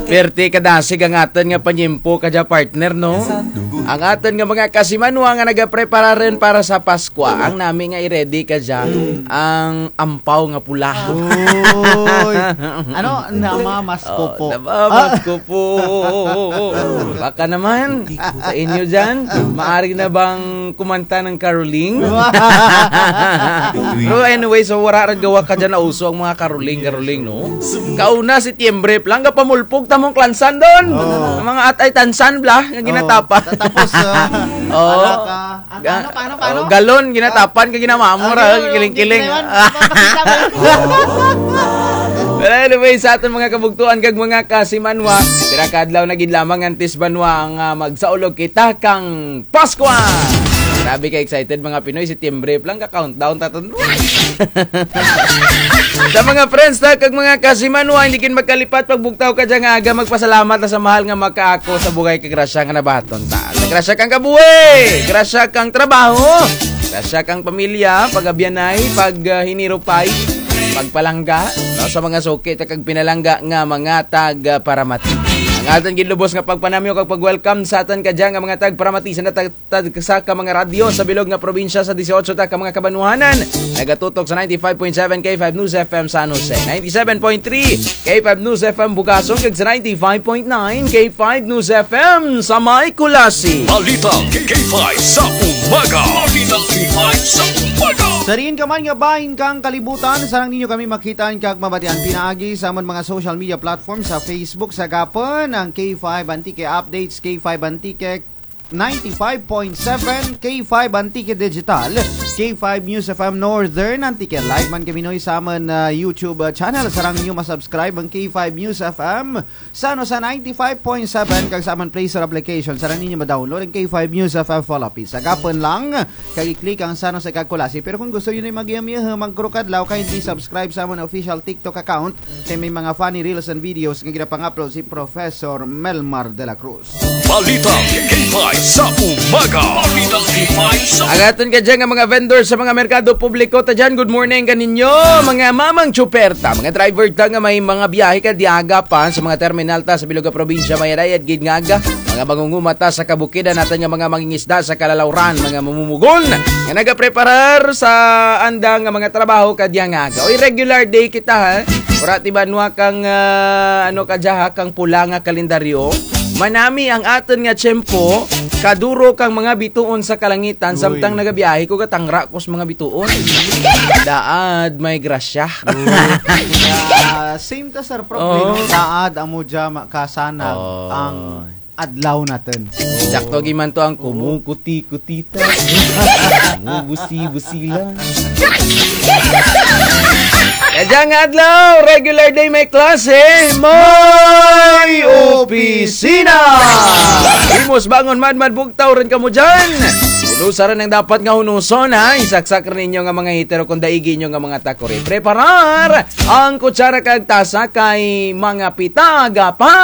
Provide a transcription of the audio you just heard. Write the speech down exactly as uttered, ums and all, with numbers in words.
Perti kadasig ang atun nga panyempo kadya, partner, no? Ang atun nga mga kasimanwa nga nagaprepara run para sa Paskwa. Ang nami nga i-ready kadya ang ampaw nga pula. Uy. Ano? Namamas ko po. Oh, namamas ko po. Baka naman, sa inyo dyan, maari na bang kumanta ng caroling? Pero anyway, so wara run gawa kadya nauso ang mga caroling, caroling, no? Kauna, Setyembre pa lang, gapamulpog ta mong klansan dun. Oo. Ang mga atay tansan bala, nga ginatapan. Oo. Tapos, ah, ano ka? Ang, ano, paano, paano? Oh, galon, ginatapan kag ginamamura, kiling-kiling. Well, anyway, sa atun mga kabugtuan kag mga kasimanwa, pira ka adlaw na gid lamang antes banwa nga magsaulog kita kang Paskwa. Grabe ka excited, mga Pinoy, Setyembre pa lang, ka-countdown ta tun. Sa mga friends ta kag mga kasimanwa, hindi gid magkalipat pagbugtaw kadya nga aga, magpasalamat ta sa mahal nga makaako sa bugay kag grasya nga nabaton ta. Sa grasya kang kabuhi, grasya kang trabaho, grasya kang pamilya, pag-abyanay, pag, ah, hinirupay, pagpalangga, no, sa mga suki ta kag pinalangga nga mga tag, ah, paramati. Ang atun gid lubos nga pagpanamyo kag pag-welcome sa atun kadya nga mga tag paramati sa natag-, tag-, sa ka mga radyo sa bilog nga probinsya sa dieciocho ta ka mga kabanwahanan. Nagatutok sa ninety-five point seven K five News F M San Jose, ninety-seven point three K five News F M Bugason, kag sa ninety-five point nine K five News F M sa may Culasi. Balita K five sa umaga. Balita K five sa umaga. Sa diin ka man nga bahin kang kalibutan, sarang ninyo kami makitaan kag mabatian pinaagi sa amon mga social media platform, sa Facebook, sa gapon ang K five Antique Updates, K five Antique ninety-five point seven, K five Antique Digital, K five News F M Northern Antique. Live man kami, Noy, sa amon, ah, YouTube, ah, channel. Sarang ninyo masubscribe ang K five News F M San Jose ninety-five point seven, kag sa amon Play Store application. Sarang ninyo ma-download ang K five News F M Philippines. Sa gapon lang kag i-click ang San Jose kag Culasi. Pero kung gusto ninyo mag-iyam-iyam, magkurukadlaw, kindly subscribe sa amon official TikTok account. Kay may mga funny reels and videos nga ginapang-upload si Professor Melmar de la Cruz. Balita K five sa umaga. Balita K five sa Ang atun kadya nga mga vendor sa mga merkado publiko ta dyan, good morning kaninyo. Mga mamang tsuper ta, mga driver ta nga may mga biyahe kadya aga pa sa mga terminal ta sa bilog nga probinsya, mayad-ayad gid nga aga. Mga mangunguma ta sa kabukidan, atun nga mga mangingisda sa kalalawran, mga mamumugon nga nagapreparar sa anda nga mga trabaho kadya nga aga. Uy, regular day kita, ha? Wara ti banwa kang, ah, ano kadya, ha, kang pula nga kalendaryo. Manami ang atun nga tiyempo, kaduro kang mga bituon sa kalangitan, Uy. Samtang nagabiyahe ko, gatangra ko sa mga bituon. Daad, may grasya. Uy. Ah, same ta, Sir Prof, Oo. eh, no? Daad, amo dya, ma-, kasana, Oo. ang adlaw natun. Sakto gid man to ang kumukuti-kutita. Kumubusi-busila. Kadya nga adlaw, regular day may klase, may opisina. Himos bangon madmad bugtaw run kamo dyan. Hunusa run ang dapat nga hunuson, ha? Isaksak run ninyo nga mga heater o kon daigi ninyo nga mga takuri. Preparar ang kutsara kag tasa kay mga pitaga pa.